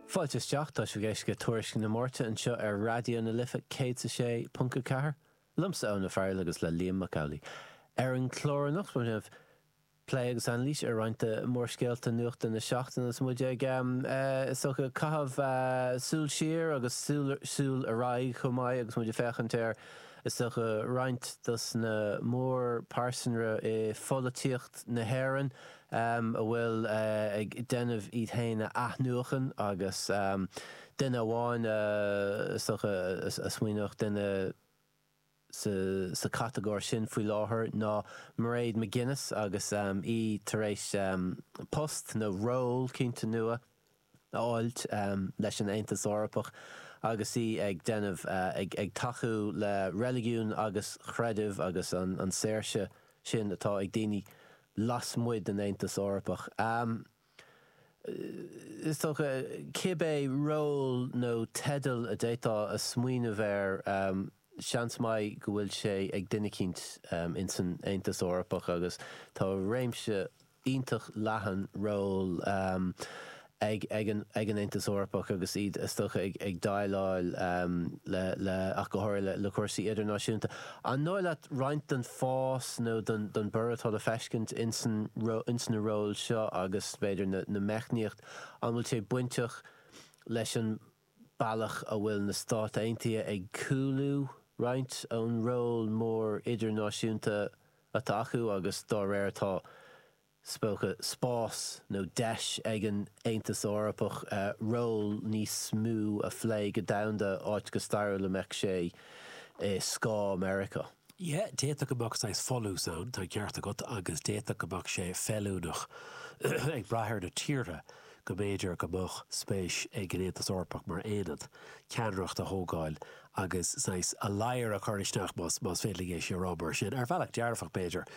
Fáilte isteach, tá sibh ag éisteacht le Tuairisc na Máirte anseo ar Raidió na Life 106.4, liomsa Eoin Ó Fearghail agus le Liam Mac Amhlaigh. Ar an chlár anocht, beimid ag déanamh plé agus anailís ar roinnt de mhórscéalta nuachta na seachtaine agus muid ag, is dócha, caitheamh súil siar agus súil ar aghaidh chomh maith agus muid ag féachaint ar, is dócha, roinnt dos na mórphearsanra i pholaitíocht na hÉireann. a bhfuil ag déanamh iad féin a athnuachan agus duine amháin is dócha a smaoineodh duine sa chatagóir sin faoi láthair ná Mairead McGuinness agus í tar éis post nó ról cinnte nua a fháilt leis an Aontas Eorpach agus í ag déanamh, ag tacú le reiligiún agus creideamh agus an saoirse sin atá ag daoine lasmuigh den Aontas Eorpach. Is dócha, cibé ról nó teideal a d'fhéadfá a smaoineamh air, seans maith go bhfuil sé ag duine eicínt ins an Aontas Eorpach agus tá réimse iontach leathan ról ag an Aontas Eorpach agus iad, is dócha, ag déileáil le, le, ach go háirithe le cúrsaí idirnáisiúnta. An dóigh leat roinnt den fás nó den borradh atá le feiscint ins na róil seo agus, b'fhéidir, na meicníocht, an bhfuil sé bainteach leis an bealach a bhfuil na Stáit Aontaithe ag cúlú roinnt ón ról mór idirnáisiúnta atá acu agus dá réir tá, is dócha, spás nó deis ag an Aontas Eorpach ról níos mó a phlé go domhanda, áit go stairiúil a mbeadh sé i scáth Meiriceá. Yeah, d'fhéadfadh go mbeadh saghas folús ann, tá an ceart agat, agus d'fhéadfadh go mbeadh sé feiliúnach, ag brath ar na tíortha, go mb'fhéidir go mbeadh spéis ag an Aontas Eorpach mar aonad, ceannaireacht a thógáil agus saghas a ladhar a chur isteach, más féidir linn é sin a rá mar sin, ar bhealach dearfach b'fhéidir,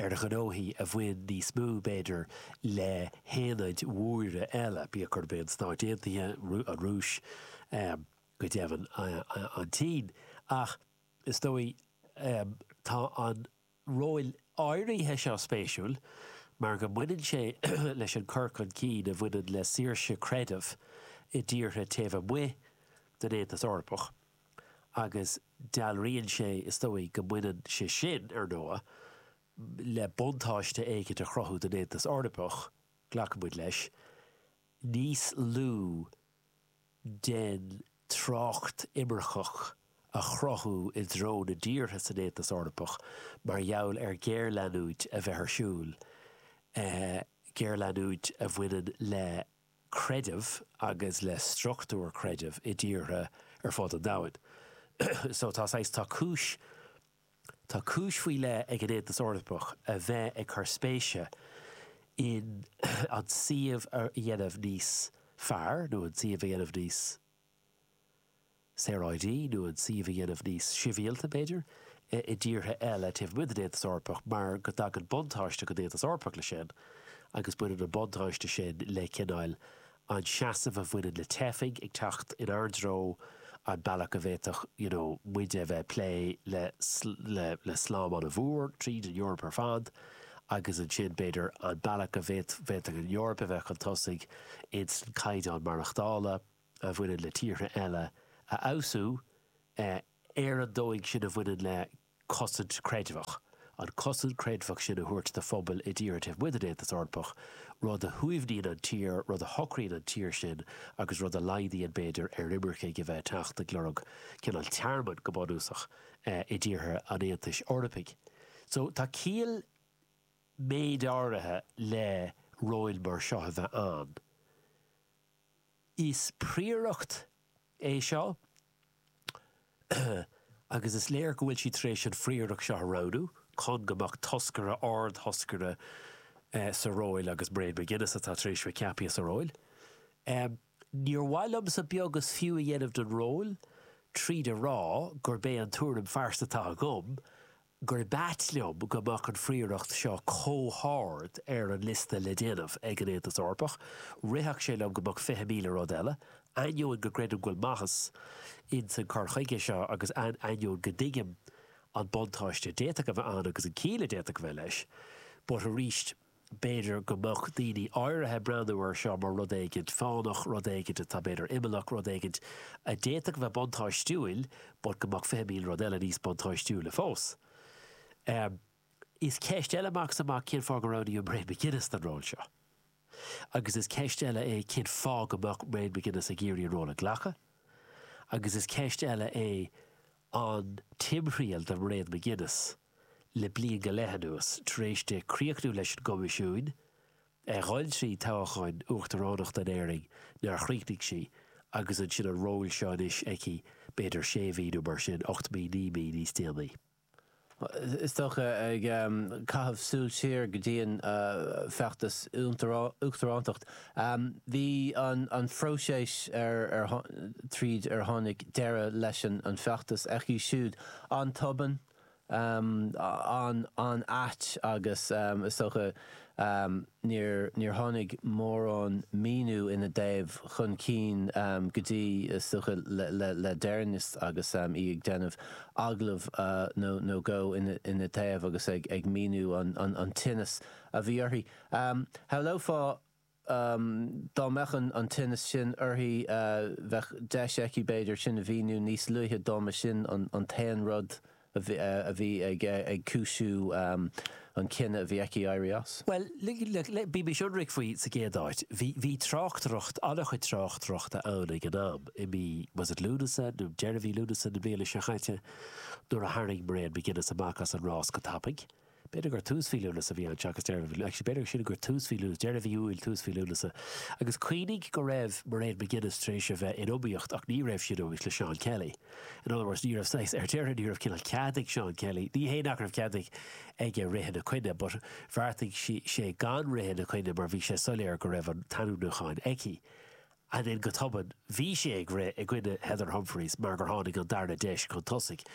ar ghnóthaí a bhain níos mó, b'fhéidir, le haonaid mhóra eile, bíodh gurb é an Stáit Aontaithe, an Rúis, go deimhin an tSín. Ach is dóigh, tá an ról áirithe seo spéisiúil mar go mbaineann sé leis an cur chun cinn a bhaineann le saoirse creidimh i dtíortha taobh amuigh den Aontas Eorpach agus dealraíonn sé, is dóigh, go mbaineann sé sin, ar ndóigh, le buntáiste éicint a chruthú don Aontas Eorpach, glacfaidh muid leis, níos lú den trácht imirceach a chruthú i dtreo na dtíortha san Aontas Eorpach mar gheall ar ghéarleanúint a bheith ar siúl, géarleanúint a bhaineann le creideamh agus le struchtúir creidimh i dtíortha ar fud an domhain. So tá saghas, tá cúis, Tá cúis faoi leith ag an Aontas Eorpach a bheith ag cur spéise in an suíomh a dhéanamh níos fearr, nó an suíomh a dhéanamh níos saoráidí, nó an suíomh a dhéanamh níos sibhialta, b'fhéidir, i dtíortha eile taobh amuigh den Aontas Eorpach mar go dtagann buntáiste don Aontas Eorpach leis sin agus baineann an buntáiste sin le cineál an seasamh a bhaineann le teifigh ag teacht inár dtreo, an bealach a bhféadfadh you know muide a bheith ag plé le le le slám an-mhór tríd an Eoraip ar fad agus ansin b'fhéidir an bealach a bhféadfadh an Eoraip a bheith chun tosaigh ins an caighdeán maireachtála a bhaineann le tíortha eile a fheabhsú ar an dóigh sin a bhaineann le cosaint chreidmheach, an chosaint chreidmheach sin a thabhairt do phobail i dtíortha taobh amuigh den Aontas Eorpach, rud a shuaimhníonn an tír, rud a shocraíonn an tír sin agus rud a laghdaíonn, b'fhéidir, ar imircigh a bheith ag teacht ag lorg cineál tearmainn, go bunúsach, i dtíortha an Aontais Eorpaigh. So, tá ciall méid áirithe le róil mar seo a bheith ann. Is príoracht é seo agus is léir go bhfuil siad tar éis an phríoracht seo a roghnú chun go mbeadh toscaire, ard-thoscaire sa róil agus Mairead McGuinness atá tar éis bheith ceaptha sa róil. Níor mhaith liomsa beag is fiú a dhéanamh den ról tríd a rá gurb é an tuairim phearsanta atá agam gurb ait liom go mbeadh an phríoracht seo chomh hard ar an liosta le déanamh ag an Aontas Eorpach. Rithfeadh sé liom go mbeadh 20,000 rud eile, ainneoin go gcreidim go bhfuil maitheas ins an cur chuige seo agus ainneoin go dtuigim an buntáiste a d'fhéadfadh a bheith ann agus an ciall a d'fhéadfadh a bheith leis. But arís. B'fhéidir go mbeadh daoine áirithe ag breathnú air seo mar rud éigint fánach, rud éigint atá b'fhéidir imeallach, rud éigint a d'fhéadfadh a bheith buntáistiúil but go mbeadh 20,000 rud eile níos buntáistiúla fós. Is ceist eile amach is amach cén fáth gur roghnaíodh Mairead McGuinness don ról seo. Agus is ceist eile é cén fáth go mbeadh Mairead McGuinness ag iarraidh an ról a ghlacadh. Agus is ceist eile é an timthriall do Mhairéad McGuinness le bliain go leith anuas, tar éis di críochnú leis an gCoimisiún, a dhul trí toghcháin uachtaránachta in Éirinn nár chríochnaigh sí, agus ansin an ról seo anois aici b'fhéidir sé mhí nó mar sin, 8 mí, 9 mí níos déanaí. Is dócha, ag caitheamh súil siar go dtí an feachtas uachtarántacht, bhí an phróiseas ar tríd ar tháinig deireadh leis an feachtas aici siúd an-tobann, an-ait agus is dócha níor tháinig mórán míniú ina dtaobh chun cinn go dtí, is dócha, le deireanas agus í ag déanamh agallamh nó dhó ina taobh agus ag míniú an tinneas a bhí uirthi. Shamhlófá Dá mbeadh an tinneas sin uirthi, bheadh deis aici, b'fhéidir, sin a mhíniú níos luaithe dá mba sin an t-aon rud a bhí ag cúisiú an cinneadh a bhí aici éirí as. Bhuel, bímis ionraic faoi sa gcéad áit. Bhí tráchtaireacht, an-chuid tráchtaireachta ann ag an am, i mí, was it Lúnasa nó deireadh mhí Lúnasa na bliana seo chaite, nuair a tharraing Mairéad McGuinness amach as an rás go tapaidh. B'fhéidir gur tús mhí Lúnasa a bhí ann seachas deireadh mhí, actually b'fhéidir sin gur tús mhí Lúnasa, deireadh mhí Iúil, tús mhí Lúnasa. Agus cuimhnigh go raibh Mairéad McGuinness tar éis a bheith in iomaíocht ach ní raibh sí in iomaíocht le Seán Kelly. In other words, ní raibh saghas, ar deireadh ní raibh cineál cead ag Seán Kelly, ní hé nach raibh cead ag aige rith ina coinne but bheartaigh sí, sé gan rith ina coinne mar bhí sé soiléir go raibh an t-ainmniúchán aici. And then go tobann, bhí sé ag rith i gcoinne Heather Humphreys mar gur tháinig an dara deis chun tosaigh.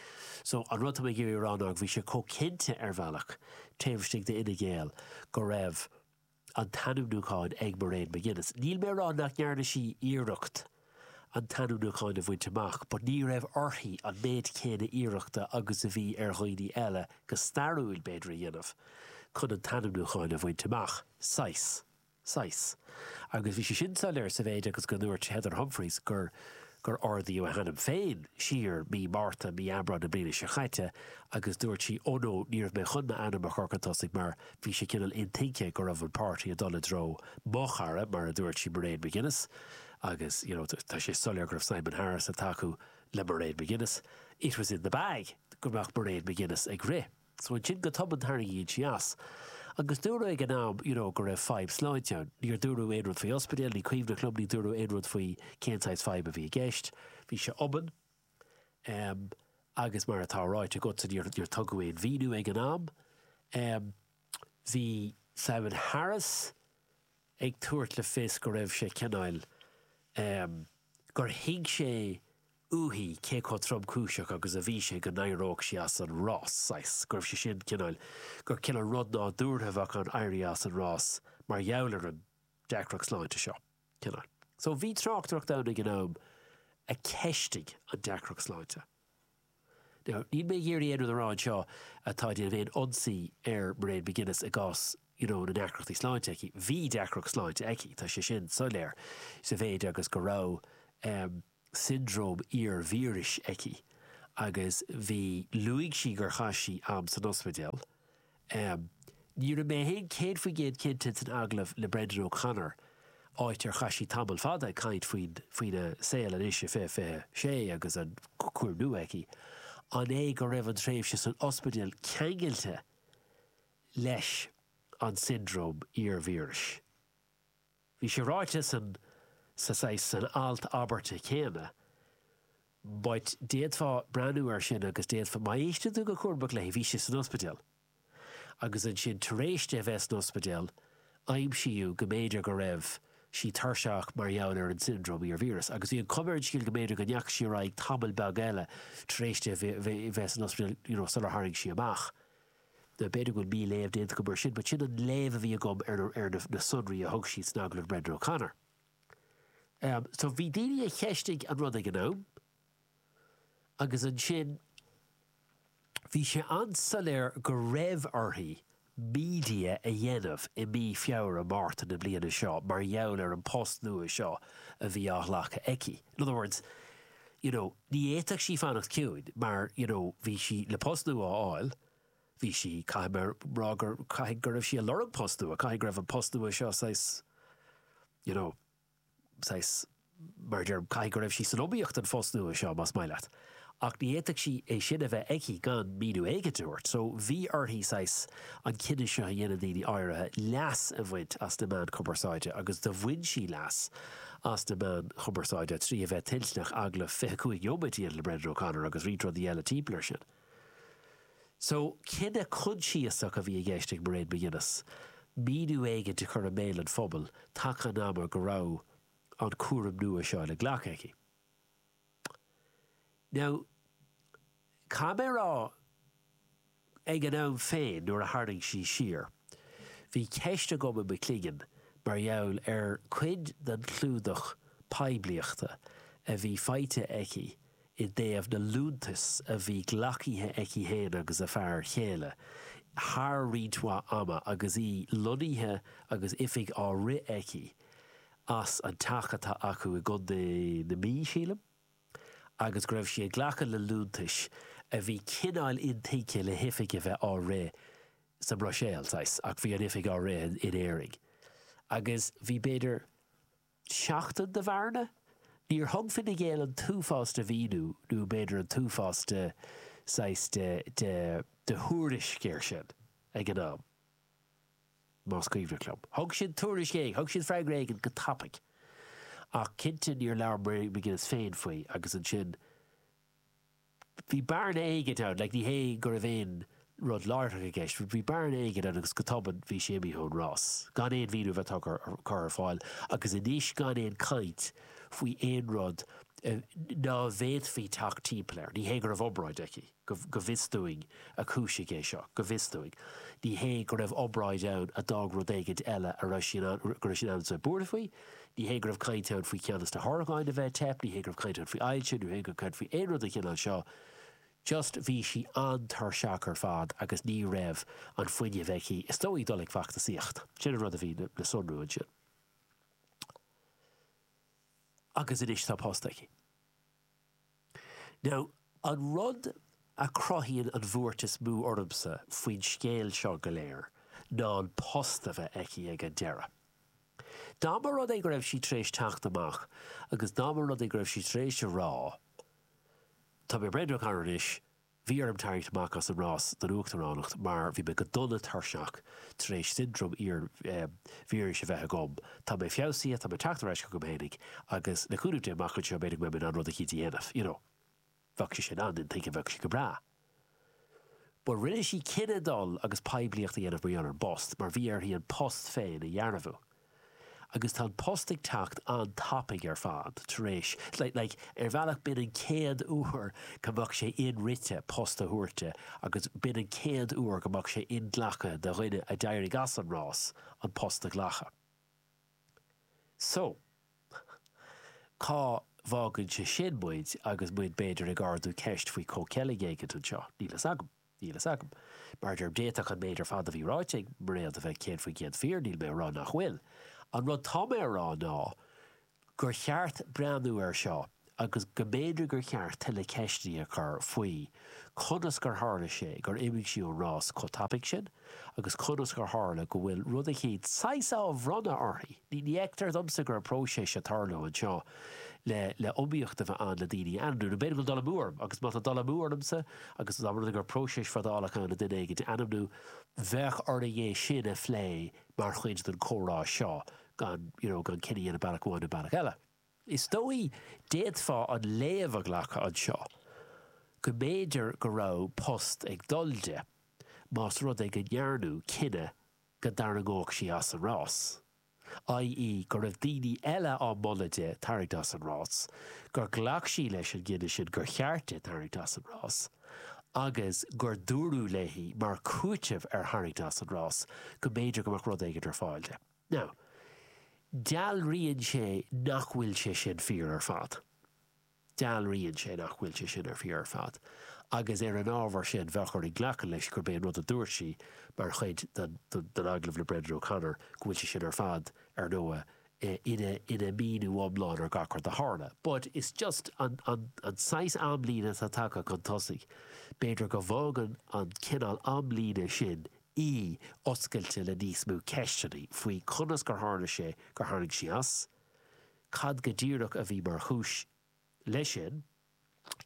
So, an rud atá mé ag iarraidh a rá ná go bhí sé chomh cinnte ar bhealach, taobh istigh d'Fhine Gael, go raibh an t-ainmniúchán ag Mairéad McGuinness. Níl mé ag rá nach ndearna sí iarracht an t-ainmniúchán a bhaint amach, but ní raibh uirthi an méid céanna iarrachta agus a bhí ar dhaoine eile go stairiúil, b'fhéidir, a dhéanamh chun an t-ainmniúchán a bhaint amach. Saghas. saghas. Agus bhí sé sin soiléir sa mhéid agus go ndúirt Heather Humphreys gur gur ardaíodh a hainm féin siar mí Márta, mí Aibreán na bliana seo chaite agus dúirt sí oh no, ní raibh mé chun m'ainm a chur chun tosaigh mar bhí sé cineál intuigthe go raibh an páirtí ag dul i dtreo mo chara, mar a dúirt sí, Mairéad McGuinness agus you know tá sé soiléir go raibh Simon Harris ag tacú le Mairéad McGuinness. It was in the bag go mbeadh Mairéad McGuinness ag rith. So ansin go tobann tarraingíonn sí as. Agus dúradh ag an am you know go raibh fadhb sláinte ann. Níor dúradh aon rud faoi ospidéal, ní cuimhneach liom, ní dúradh aon rud faoi cén saghas fadhb a bhí i gceist. Bhí sé obann. Em agus mar atá ráite agatsa níor níor tugadh aon mhíniú ag an am. Em bhí Simon Harris ag tabhairt le fios go raibh sé cineál em gur thuig sé uaithi cé chomh tromchúiseach agus a bhí sé go n-éireodh sí as an rás, saghas, go raibh sé sin cineál, gur cineál rud nádúrtha a bheadh ann éirí as an rás mar gheall ar an deacracht sláinte seo, cineál. So bhí tráchtaireacht ann ag an am a cheistigh an deacracht sláinte. Now, níl mé ag iarraidh aon rud a rá anseo atá ag déanamh aon ionsaí ar Mairéad McGuinness i gcás you know na ndeacrachtaí sláinte aici. Bhí deacracht sláinte aici, tá sé sin soiléir, sa mhéid agus go raibh em siondróm iarvíris aici agus bhí, luaigh sí gur chaith sí am san ospidéal. Em ní raibh mé féin 100% cinnte san agallamh le Brendan O'Connor, áit ar chaith sí tamall fada ag caint faoin, faoina saol anois i 2026 agus an cúram nua aici, an é go raibh an tréimhse san ospidéal ceangailte leis an siondróm iarvíris? Bhí sé ráite san, sa saghas, san alt abairte céanna, but d'fhéadfá breathnú air sin agus d'fhéadfá, má éisteann tú go cúramach léi, bhí sí san ospidéal agus ansin tar éis di a bheith san ospidéal, aimsíodh go mb'fhéidir go raibh sí tuirseach mar gheall ar an siondróm iarvíreas agus bhí an chuma ar an scéal go mb'fhéidir go ndeachaigh sí ar aghaidh tamall beag eile tar éis di a bheith san ospidéal, you know, sular tharraing sí amach. Now b'fhéidir go bhfuil mí-léamh déanta agam air sin, but sin an léamh a bhí agam ar ar na sonraí a thug sí san agallamh le Brendan O'Connor. Um, so bhí daoine a cheistigh an rud ag an am, agus ansin bhí sé an-soiléir go raibh uirthi media a dhéanamh i mí Feabhra, Márta na bliana seo mar gheall ar an post nua seo a bhí á ghlacadh aici. In other words, you know, ní fhéadfadh sí fanacht ciúin mar, you know, bhí sí le post nua a fháil, bhí sí, caithfidh mé a rá gur, caithfidh go raibh sí ag lorg post nua, caithfidh go raibh an post nua seo saghas, you know, saghas, mar a deirim, caithfidh go raibh sí san iomaíocht don phost nua seo, más maith leat. Ach ní fhéadfadh sí é sin a bheith aici gan míniú éigin a thabhairt. So, bhí uirthi, saghas, an cinneadh seo a dhéanann daoine áirithe, leas a bhaint as na meáin chumarsáide agus do bhain sí leas as na meáin chumarsáide trí a bheith toilteanach agallamh 25 neomat a dhéanamh le Brendan O'Connor agus roinnt rudaí eile timpeall air sin. So, cinneadh coinsiasach a bhí i gceist ag Mairéad McGuinness, míniú éigin a chur i mbéal an phobail taca an ama go raibh an cúram nua seo le glacadh aici. Now, caithfidh mé a rá, ag an am féin nuair a tharraing sí siar, bhí ceist agam i mo chloigeann mar gheall ar cuid den chlúdach poiblíochta a bhí faighte aici i dtaobh na liúntas a bhí glacaithe aici féin agus a fear chéile thar roinnt mhaith ama agus í lonnaithe agus oifig á rith aici as an teach atá acu i gContae na Mí, sílim, agus go raibh sí ag glacadh le liúntais a bhí cineál intuigthe le hoifig a bheith á rith sa mBruiséil, saghas, ach bhí an oifig á rith in Éirinn. Agus bhí b'fhéidir. seachtain de bhearna? Níor thug Fine Gael an t-uafás de mhíniú nó b'fhéidir an t-uafás de saghas de de de thuairisc air sin ag an am, más cuimhneach liom. Thug siad tuairisc éigin, thug siad freagra éigin go tapaidh. Ach cinnte níor labhair Mairéad McGuinness féin faoi agus ansin, Bhí bearna éigin ann, like ní hé go raibh aon rud láithreach i gceist, but bhí bearna éigin ann agus go tobann bhí sí imithe ón rás, gan aon mhíniú a bheith tugtha, curtha ar fáil agus anois gan aon caint faoi aon rud ná bhféadfaí teacht timpeall air. Ní hé go raibh obráid aici, go, go bhfios dúinn a chúisigh é seo, go bhfios dúinn. Ní hé go raibh obráid ann a d'fhág rud éigin eile a raibh sí in ann, go raibh sí in ann a bheith buartha faoi. Ní hé go raibh caint ann faoi cheann des na horgáin a bheith ag teip, ní hé go raibh caint ann faoi ailse, ní hé go raibh caint faoi aon rud den chineál seo, just bhí sí an-tuirseach ar fad agus ní raibh an fuinneamh aici, is dóigh, dul ag feachtasaíocht. Sin an rud a bhí le sonrú ansin. Agus anois tá post aici. Now, an rud a chruthaíonn an bhuairt is mó ormsa faoin scéal seo go léir ná an post a bheith aici ag an deireadh. Dá mba rud é go raibh sí tar éis teacht amach agus dá mba rud é go raibh sí tar éis a rá, Tá mé Brendan O'Connor anois, bhí orm tarraingt amach as an rás don uachtaránacht mar bhí mé go dona tuirseach tar éis siondróm iar-víris a bheith agam, tá mé feabhsaithe, tá mé ag teacht ar ais chugam fhéinig agus le cúnamh Dé amach anseo b'fhéidir go mbeidh mé in ann rud eicínt a dhéanamh, you know. Bheadh sé sin an-intuigthe, bheadh sé go breá. But rinne sí cinneadh dul agus poiblíocht a dhéanamh mar gheall ar an bpost, mar bhí uirthi an post féin a dhearbhu. Agus tá an post ag teacht an-tapaidh ar fad tar éis, like, like, ar bhealach b'in an chéad uair go mbeadh sé inrite post a thabhairt di agus b'in an chéad uair go mbeadh sé inghlactha do dhuine a d'éirigh as an rás an post a ghlacadh. So, cá bhfágann sé sin muid agus muid b'fhéidir ag ardú ceist faoi comhcheilg éigint anseo? Níl fhios agam. Níl fhios agam. Mar a deirim, d'fhéadfadh an méid ar fad a bhí ráite ag Mairéad a bheith 100% fíor, níl mé a rá nach bhfuil. An rud tá mé a rá ná gur cheart breathnú air seo agus go mb'fhéidir gur cheart tuilleadh ceisteanna a chur faoi conas gur tharla sé gur imigh sí ón rás chomh tapaidh sin agus conas gur tharla go bhfuil rud eicínt saghas á bhronnadh uirthi. Ní fheictear domsa go raibh próiseas ag tarlú anseo le le iomaíocht a bheith ann le daoine a ainmniú. Nó b'fhéidir go bhfuil dul amú orm agus má tá dul amú ormsa agus dá mba rud é go raibh próiseas fadálach ann le duine éigin a ainmniú, bheadh orainn é sin a phlé mar chuid den chomhrá seo gan, you know, gan cinneadh a dhéanamh bealach amháin nó bealach eile. Is dóigh, d'fhéadfá an léamh a ghlacadh anseo go mb'fhéidir go raibh post ag dul di más rud é go ndearnadh cinneadh go dtarraingeodh sí as an rás, i.e. go raibh daoine eile á moladh di tarraingt as an rás, gur ghlac sí leis an gcinneadh sin gur cheart di tarraingt as an rás, agus gur dúradh léi mar chúiteamh ar tharraingt as an rás go mb'fhéidir go mbeadh rud éigin ar fáil di. Now, dealraíonn sé nach bhfuil sé sin fíor ar fad. Dealraíonn sé nach bhfuil sé sin fíor ar fad. Agus ar an ábhar sin, bheadh orainn glacadh leis gurb é an rud a dúirt sí mar chuid den agallamh le Brendan O'Connor go bhfuil sé sin ar fad, ar ndóigh, ina ina míniú iomlán ar gach rud a tharla. But it's just an an an saghas amlíne atá tagtha chun tosaigh, b'fhéidir go bhfágann an cineál amlíne sin í oscailte le níos mó ceisteanna faoi conas gur tharla sé gur tharraing sí as, cad go díreach a bhí mar chúis leis sin,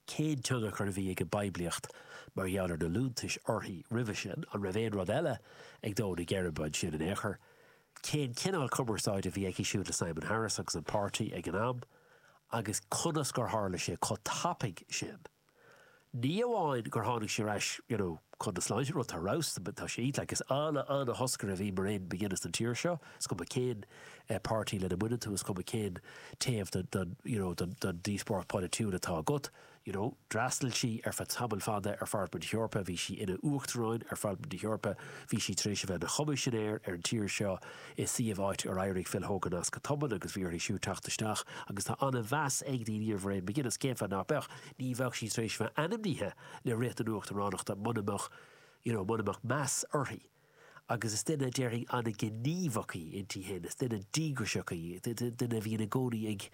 cén tionchar a bhí ag an bpoiblíocht mar gheall ar na liúntais uirthi roimhe sin, an raibh aon rud eile ag dó na geirbe ansin in aon chor, cén cineál cumarsáide a bhí aici siúd le Simon Harris agus an páirtí ag an am, agus conas gur tharla sé chomh tapaidh sin. Ní amháin gur tháinig sí ar ais you know chun na sláinte, rud atá ar fheabhas, tá sé iontach, like is ana, ana-thoscaire a bhí Mairead McGuinness don tír seo, is cuma cén páirtí lena mbaineann tú, is cuma cén taobh den you know den díospóireacht polaitiúil atá agat, you know. D'fhreastail sí ar feadh tamaill fada ar Pharlaimint na hEorpa, bhí sí ina Uachtaráin ar Pharlaimint na hEorpa, bhí sí tar éis a bheith ina Choimisinéir ar an tír seo i suíomh áit ar éirigh Phil Hogan as go tobann agus bhí uirthi siúd teacht isteach agus tá an-mheas ag daoine ar Mhairead McGuinness, cén fáth nach mbeadh? Ní bheadh sí tar éis a bheith ainmnithe le rith don Uachtaránachta muna mbeadh, you know, muna mbeadh meas uirthi. Agus is duine, déarfainn, an-ghníomhach í inti féin, is duine díograiseach í, duine a bhíonn i gcónaí ag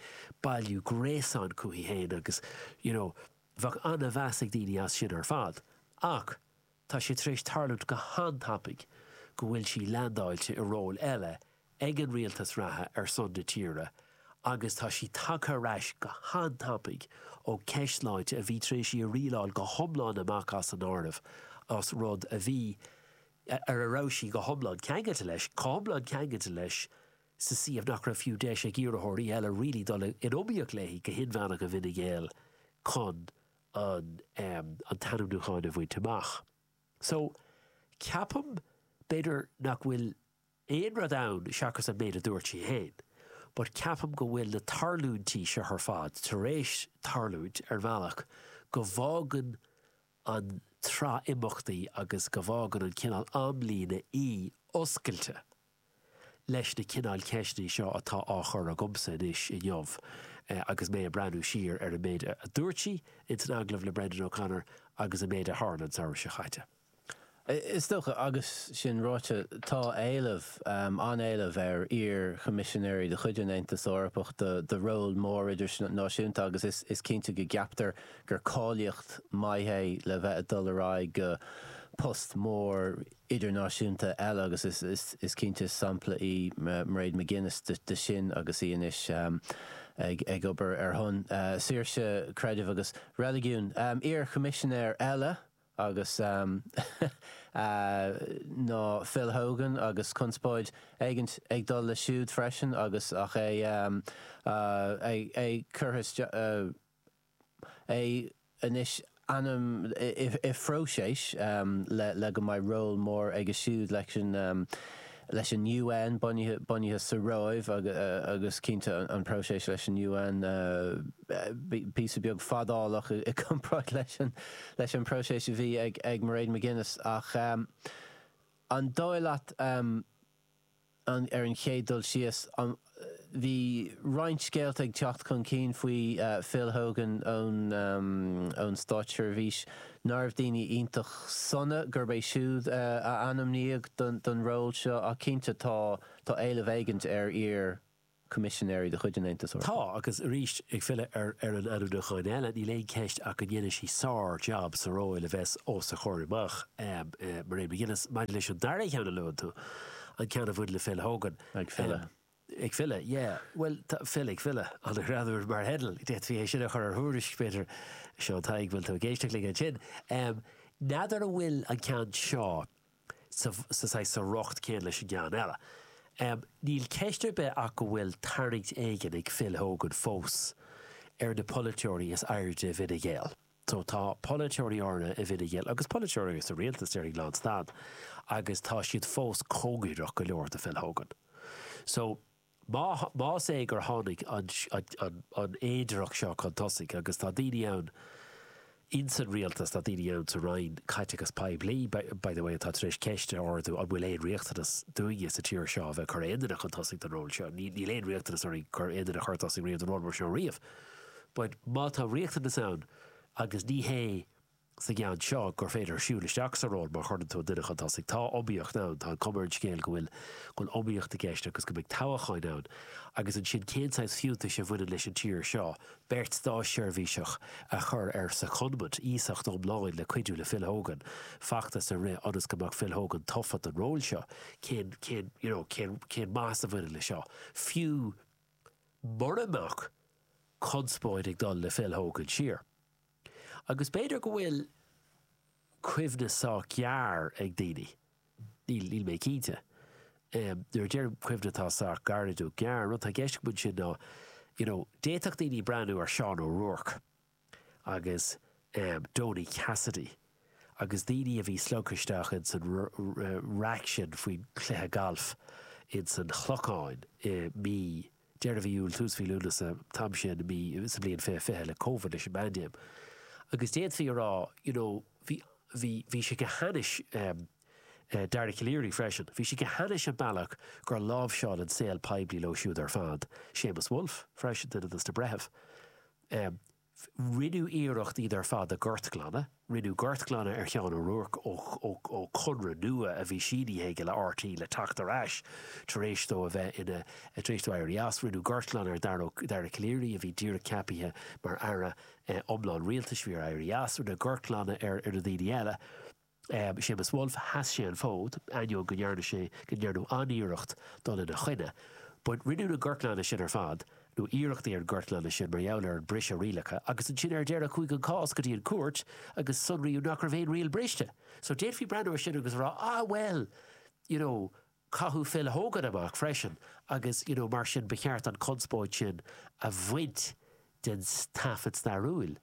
bailiú gréasáin chuici féin agus, you know, bheadh an-mheas ag daoine as sin ar fad. Ach tá sé tar éis tarlúint go han-tapaidh go bhfuil sí leaindeáilte i ról eile ag an rialtas reatha ar son na tíre agus tá sí tagtha ar ais go han-tapaidh ó cheist sláinte a bhí tar éis í a rialáil go hiomlán amach as an áireamh, as rud a bhí, ar a raibh sí go hiomlán ceangailte leis, chomh hiomlán ceangailte leis sa suíomh nach raibh fiú deis ag iarrthóirí eile really dul in iomaíocht léi go hinmheánach i bhFine Gael chun an an t-ainmniúchán a bhaint amach. So, ceapaim, b'fhéidir nach bhfuil aon rud ann seachas an méid a dúirt sí féin, but ceapaim go bhfuil na tarlúintí seo ar fad tar éis tarlúint ar bhealach go bhfágann an tsraith imeachtaí agus go bhfágann an cineál amlíne í oscailte leis na cineál ceisteanna seo atá á chur agamsa anois inniu agus mé ag breathnú siar ar an méid a dúirt sí ins an agallamh le Brendan O'Connor agus an méid a tharla an samhradh seo chaite. Is dócha, agus sin ráite, tá éileamh, an-éileamh ar iar-choimisinéirí de chuid an Aontais Eorpach do ról mór idirnáisiúnta agus is cinnte go gceaptar gur cáilíocht maith é le bheith ag dul ar aghaidh go post mór idirnáisiúnta eile agus is cinnte is sampla í Mairead McGuinness de sin agus í anois ag obair ar shon saoirse creidimh agus reiligiúin. Iar-choimisinéir eile agus ná Phil Hogan agus conspóid éigint ag dul leis siúd freisin agus ach é é curtha isteach é anois ainm i phróiseas le go mbeidh ról mór aige siúd leis an leis an UN bunaithe bunaithe sa Róimh agus cinnte an próiseas leis an UN píosa beag fadálach i gcomparáid leis an leis an próiseas a bhí ag ag Mairead McGuinness ach an dóigh leat an ar an chéad dul síos an bhí roinnt scéalta ag teacht chun cinn faoi Phil Hogan ón ón státseirbhís ná raibh daoine iontach sona gurb é siúd a ainmníodh don ról seo ach cinnte tá tá éileamh éigint ar iar Coimisinéirí de chuid an Aontais Eorpaigh. Tá, agus arís, ag filleadh ar ar an ainmniúchán eile, níl aon cheist ach go ndéanfaidh sí sár-jab sa ról a bheas os a chomhair amach, Mairead McGuinness. Maidir leis an dara ceann a luann tú, an ceann a bhain le Phil Hogan. Ag filleadh. Ag filleadh, yeah. Bhuel, tá Phil ag filleadh, an-ghreannmhar mar theideal. D'fhéadfaí é sin a chur ar thuairisc, b'fhéidir. Seán Tadhg, bhfuil tú ag éisteacht linn ansin? N'fheadar an bhfuil an ceann seo sa saghas sa riocht céanna leis an gceann eile. Níl ceist ar bith ach go bhfuil tarraingt éigin ag Phil Hogan fós ar na polaiteoirí is airde i bhFine Gael. So tá polaiteoirí áirithe i bhFine Gael agus polaiteoirí sa rialtas déarfainn lánstad agus tá siad fós cóngarach go leor do Phil Hogan. So Má, más é gur tháinig an, an, an fhéidearthacht seo chun tosaigh, agus tá daoine ann ins an rialtas, tá daoine ann sa Roinn Caiteachas Poiblí, by the way, atá tar éis ceist a ardú an bhfuil aon riachtanas dúinne sa tír seo a bheith ag cur aon duine chun tosaigh don ról seo. Níl, níl aon riachtanas orainn cur aon duine a chur tosaigh riamh don ról mar seo riamh. But má tá riachtanas ann agus ní hé sa gceann seo gur féidir siúl isteach sa ról má chuireann tú an duine chun tosaigh. Tá iomaíocht ann, tá an cuma ar an scéal go bhfuil go bhfuil iomaíocht i gceist agus go mbeidh toghcháin ann. Agus ansin cén saghas fiúntais a bhaineann leis an tír seo beirt státseirbhíseach a chur ar secondment, iasacht iomlán le cuidiú le Phil Hogan feachtas a rith ionas go mbeadh Phil Hogan tofa don ról seo. Cén, cén, you know, cén, cén maitheas a bhaineann leis seo? Fiú mura mbeadh conspóid ag dul le Phil Hogan siar. Agus b'fhéidir go bhfuil cuimhne sách gearr ag daoine, níl, níl mé cinnte. Nuair a deirim cuimhne atá sách gairid nó gearr, an rud atá i gceist agam ansin ná, you know, d'fhéadfadh daoine breathnú ar Seán O'Rourke agus Donie Cassidy agus daoine a bhí slogtha isteach ins an raic sin faoin chluiche gailf ins an Chlocháin i mí deireadh mhí Iúil, tús mhí Lúnasa, an t-am sin i mí, sa bhliain 2020 le Covid, leis an bpaindéim. Agus d'fhéadfaí a rá, you know, bhí, bhí, bhí sé go hainnis, em, eh, Dara Calleary freisin, bhí sé go hainnis an bealach gur láimhseáil an saol poiblí leo siúd ar fad, Séamus Woulfe freisin, duine dos na breithimh. Em. Rinneadh iarracht iad ar fad a ghortghlanadh. Rinneadh gortghlanadh ar Sheán O'Rourke ó chonradh nua a bhí sínithe aige le RTÉ le teacht ar ais tar éis dó a bheith ina, tar éis dó éirí as. Rinneadh gortghlanadh ar Dara Calleary a bhí díreach ceapaithe mar aire iomlán rialtais, bhí air éirí as. Rinneadh gortghlanadh ar na daoine eile. Séamus Woulfe, sheas sé an fód, ainneoin go ndearna sé, go ndearnadh an-iarracht dul ina choinne. But rinneadh na gortghlanadh sin ar fad, nó iarrachtaí ar an gortghlanadh sin mar gheall ar an briseadh rialacha, agus ansin ar deireadh chuaigh an cás go dtí an cúirt agus sonraíodh nach raibh aon riail briste. So d'fhéadfaí breathnú ar sin agus a rá, ah well, you know, caitheadh Phil Hogan amach freisin agus you know mar sin ba cheart an conspóid sin a bhaint den taifead stairiúil.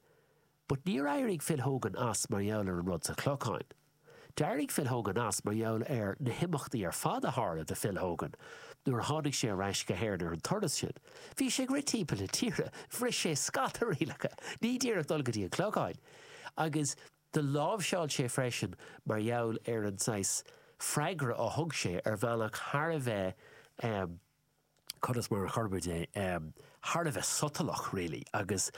But níor éirigh Phil Hogan as mar gheall ar an rud sa Chlochán. D'éirigh Phil Hogan as mar gheall ar na himeachtaí ar fad a tharla do Phil Hogan nuair a tháinig sé ar ais go hÉirinn ar an turas sin. Bhí sé ag rith timpeall na tíre, bhris sé scata rialacha, ní díreach dul go dtí an Clochán. Agus do láimhseáil sé freisin mar gheall ar an saghas freagra a thug sé ar bhealach thar a bheith eh, conas mar a chuirfimid é, thar a bheith sotalach really agus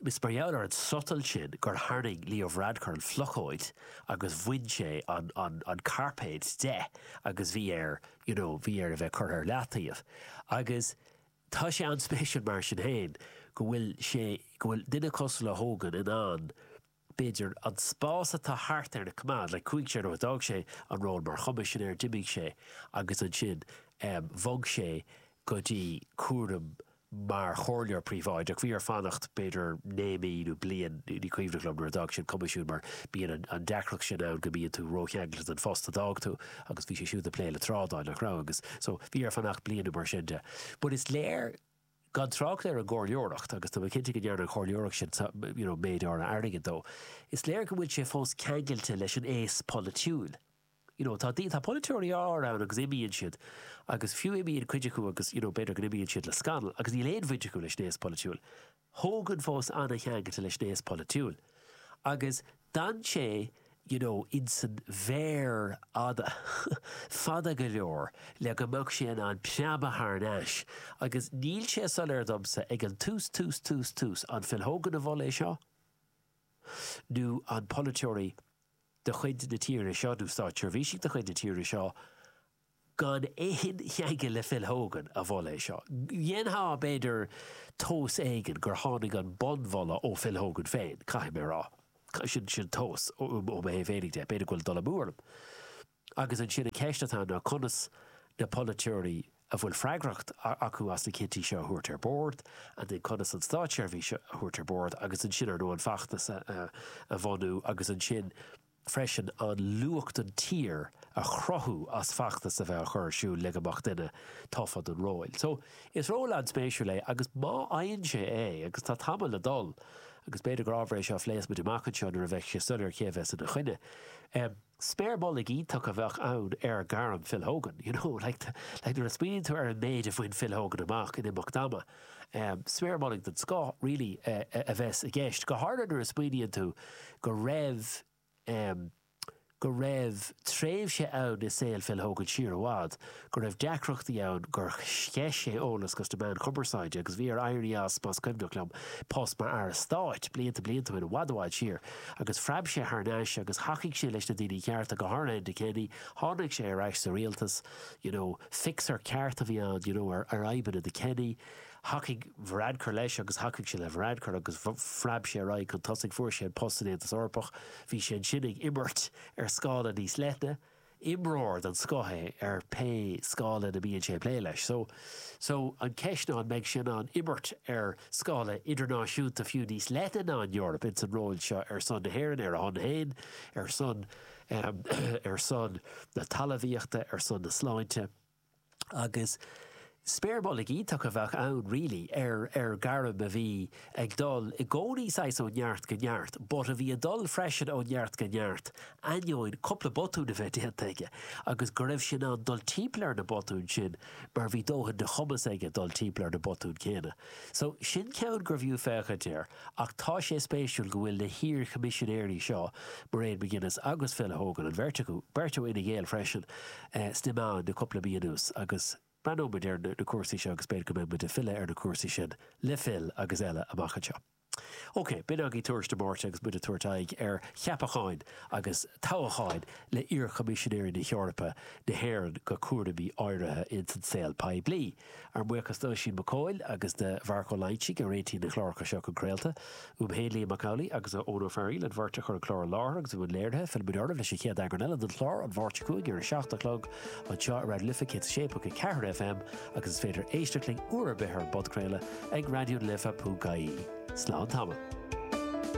is mar gheall ar an sotal sin gur tharraing Leo Varadkar an phlocóid agus bhain sé an, an, an cairpéad de agus bhí air, you know, bhí air a bheith curtha ar leataobh. Agus tá sé an-spéisiúil mar sin féin go bhfuil sé, go bhfuil duine cosúil le Hogan in ann b'fhéidir, an spás atá thart air a choimeád, like chuaigh sé, nó d'fhág sé an ról mar choimisinéir, d'imigh sé agus ansin bhog sé go dtí cúram mar chomhairleoir príobháideach. Bhí air fanacht b'fhéidir 9 mí nó bliain, ní cuimhneach liom, nuair a d'fhág sé an Coimisiún mar bíonn an deacracht sin ann go mbíonn tú rócheangailte don phost a d'fhág tú agus bhí sé siúd ag plé le trádáil, nach raibh, agus so bhí air fanacht bliain nó mar sin de. But is léir Gan trácht ar an gcomhairleoireacht, agus tá mé cinnte go ndearna an chomhairleoireacht sin you know méid áirithe airgid dó, is léir go bhfuil sé fós ceangailte leis an aos polaitiúil. You know, tá tá polaiteoirí áirithe ann agus imíonn siad, agus fiú imíonn cuid acu agus you know b'fhéidir go n-imíonn siad le scannal agus níl aon bhaint acu leis an aos polaitiúil. Hogan fós an-cheangailte leis an aos polaitiúil. Agus d'fhan sé you know insan bhféar fhada, fada go leor le go mbeadh sé in ann preabadh thar n-ais. Agus níl sé soiléir domsa ag an tús, tús, tús, tús, an Phil Hogan a mhol é seo nó an polaiteoirí de chuid na tíre seo nó státseirbhísigh de chuid na tíre seo gan aon cheangal le Phil Hogan a mhol é seo. Dhéanfá, b'fhéidir, tomhas éigin gur tháinig an bunmholadh ó Phil Hogan féin, caithfidh mé a rá. Sin, sin tomhas ó mo thaobh féinig de. B'fhéidir go bhfuil dul amú orm. Agus ansin an cheist atá ann ná conas na polaiteoirí a bhfuil freagracht acu as na cinntí seo a thabhairt ar bord, and then conas an státseirbhís a thabhairt ar bord, agus ansin, ar ndóigh, an feachtas a bhunú, agus ansin, freisin an luach don tír a chruthú as feachtas a bheith á chur ar siúl le go mbeadh duine tofa don ról. So, is ról an-spéisiúil é agus má fhaigheann sé é, agus tá tamall le dul, agus b'fhéidir gur ábhar é seo a phléas muid amach anseo nuair a bheidh sé soiléir cé a bheas ina choinne, em, sméar mullaigh iontach a bheadh ann ar ghairm Phil Hogan, you know, like, like nuair a smaoiníonn tú ar an méid a bhain Phil Hogan amach in imeacht ama, em, sméar mullaigh den scoth, really, a bheas i gceist, go háirithe nuair a smaoiníonn tú go raibh, em, go raibh tréimhse ann i saol Phil Hogan siar i bhfad go raibh deacrachtaí ann gur sceith sé eolas dos na meáin chumarsáide agus bhí air éirí as, más cuimhneach liom, post mar Aire Stáit blianta blianta ó shin, i bhfad i bhfad siar agus phreab sé thar n-ais agus thacaigh sé leis na daoine cearta, go háirithe Enda Kenny, tháinig sé ar ais sa rialtas, you know, fixer ceart a bhí ann, you know, ar fhadhbanna Enda Kenny. Thacaigh Varadkar leis agus thacaigh sé le Varadkar agus phreab sé ar aghaidh chun tosaigh. Fuair sé an post san Aontas Eorpach. Bhí sé ansin ag imirt ar scála níos leithne. Imreoir den scoth é ar pé scála ina mbíonn sé ag plé leis. So, so an ceist ná an mbeidh sé in ann imirt ar scála idirnáisiúnta fiú níos leithne ná an Eoraip ins an ról seo ar son na hÉireann, ar a shon féin, ar son, ar son na talmhaíochta, ar son na sláinte. Agus spéir mullaigh iontach a bheadh ann really ar ar gairm a bhí ag dul i gcónaí saghas ó neart go neart but a bhí ag dul freisin ó neart go neart ainneoin cúpla botún a bheith déanta aige agus go raibh sé in ann dul timpeall ar na botúin sin mar bhí dóthain de chumas aige dul timpeall ar na botúin céanna. So sin ceann gurbh fhiú féachaint air ach tá sé spéisiúil go bhfuil na hiar-choimisinéirí seo, Mairead McGuinness agus Phil Hogan, an bheirt acu, beirt ó Fhine Gael freisin, sna meáin le cúpla mí anuas agus breathnóidh muid ar na cúrsaí seo agus b'fhéidir go mbeidh muid ag filleadh ar na cúrsaí sin le Phil agus eile amach anseo. OK, b'in agaibh Tuairisc na Máirte agus muid ag tabhairt aghaidh ar cheapacháin agus toghacháin le iar-Choimisinéirí na hEorpa na hÉireann go cúraimí áirithe ins an saol poiblí. Ár mbuíochas d'Oisín Mac Cóil agus do Mharc Ó Loingsigh a réitíonn na cláracha seo chun craolta. Uaim féin, Liam Mac Amhlaigh, agus ó Eoin Ó Fearghaíl, an bheirt a chuir an clár i láthair agus i mbun léirithe. Fillfimid oraibh leis an chéad eagrán eile den chlár an Mháirt seo chugainn ar a 7 a chlog anseo ar Raidió na Life 106.4 FM agus is féidir éisteacht linn uair ar bith ar an bpodchraoladh ag raidionalife.ie. Slán tamall.